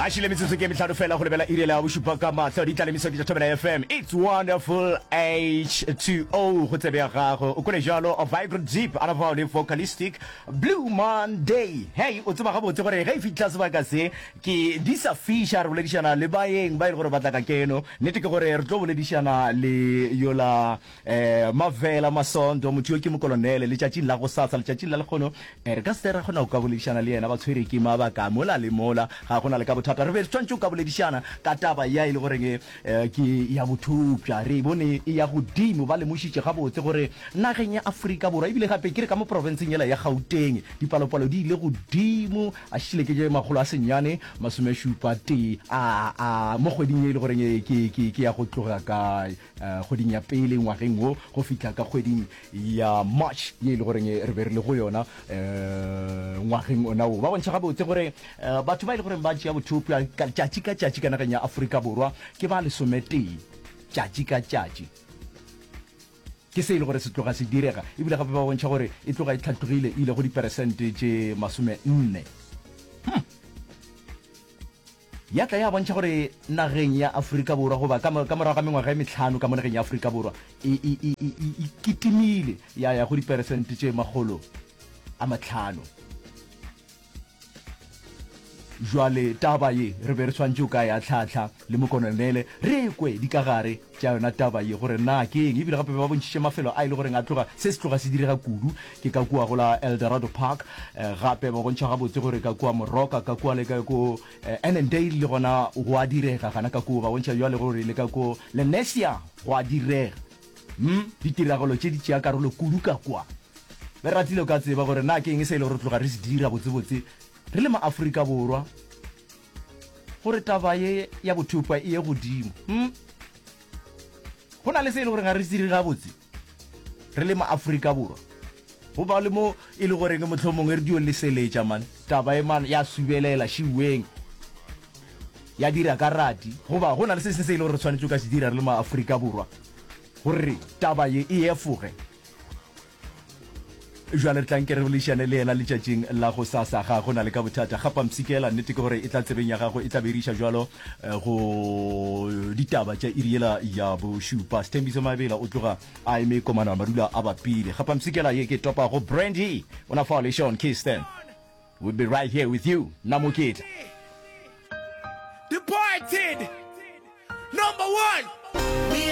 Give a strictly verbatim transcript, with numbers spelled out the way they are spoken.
A šile metsotso ke mehlano fela go lebela iri ya bošupa ka mahlo di tla le meso ke tša Thobela F M. It's wonderful H two O go tsebe ya gago. O kwele jalo Vibrant Deep a nafao le Vocalistic Blue Monday. Hey, o tseba gabotse gore ge e fihla sebaka se ke di sa fiša re boledišana le baeng ba e le gore ba tla ka keno. Nnete ke gore re tlo boledišana le yola eh Mavela Masondo, motho yo ke mokolonele letšatšing la go sasa, letšatšing la lekgono eh, re ka se re kgona go ka boledišana le yena, ba tshwere ke mabaka mola le mola, ga gona le ka bothata. Re be re tshwanetse go ka boledišana ka taba ya e le goreng eh, ke ya bothopša, re e bone e ya godimo. Ba lemošitše gabotse gore nageng ya Afrika Borwa, ebile gape ke re ka mo profenseng yela ya Gauteng, dipalopalo di ile godimo, a šile ke je makgolo a senyane masomešupa tee a a mo kgweding ye e le goreng eh, ke ke ke ya go tloga ka eh, kgweding ya pele ngwageng wo go fihla ka kgweding ya March ye e le goreng re be re le go yona eh, ngwageng ona wo. Ba bontšha gabotse gore eh, batho ba e le goreng ba tšea bothopša ka tšatši ka tšatši ka nageng ya Afrika Borwa ke ba lesometee tšatši ka tšatši. Ke se e le gore se tloga se direga, ebile gape ba bontšha gore e tloga e tlhatlogile, e ile go diperesente tše masome nne. Ya tla ya bontšha gore nageng ya Afrika Borwa, goba ka ka morago ga mengwaga e mehlano ka mo nageng ya Afrika Borwa, e, e, e, e, e, e kitimile ya ya go diperesente tše makgolo a mahlano. Jwale taba ye re be re swanetše o ka ya tlhahla le mokononele, re kwe dikagare tša yona taba ye gore na ke eng. Ebile gape ba bontšhitše mafelo a e le goreng a tloga se se tloga se direga kudu, ke ka kua go la Eldorado Park. eh, gape ba bontšha gabotse gore ka kua Moroka, ka kua le ka ko eh, Annandale le gona go a direga gana ka kua. Ba bontšha jwale gore le ka ko Lenasia go a direga. hmm? Ditiragalo tše di tšea karolo kudu ka kua. Be re ratile o ka tseba gore na ke eng se e le gore tloga re se dira botsebotse re le ma-Afrika Borwa gore taba ye ya bothopša e ye godimo. hmm? Go na le se e le gore ga re se dire gabotse re le ma-Afrika Borwa, go ba le mo e le goreng mohlomongwe re dio leseletša man taba e man ya subelela šiweng ya dira ka rati, goba go na le se sengwe se e le gore re tshwanetse o ka se dira re le ma-Afrika Borwa gore taba ye e efoge. Jwale re tla nke re boledišane le yena letšatšing la go sasa, ga go na le ka bothata. Gapa mpshikela, nnete ke gore e tla tsebeng ya gago, e tla beriša jwalo eh, go ditaba tša iri yela ya bošupa. Sethembiso Mabela o tloga a eme komana madula a bapile. Gapa mpshikela ye ke topa go Brandy ona fao le Sean Kiston. We'll be right here with you, Namoketla. Departed. Number one.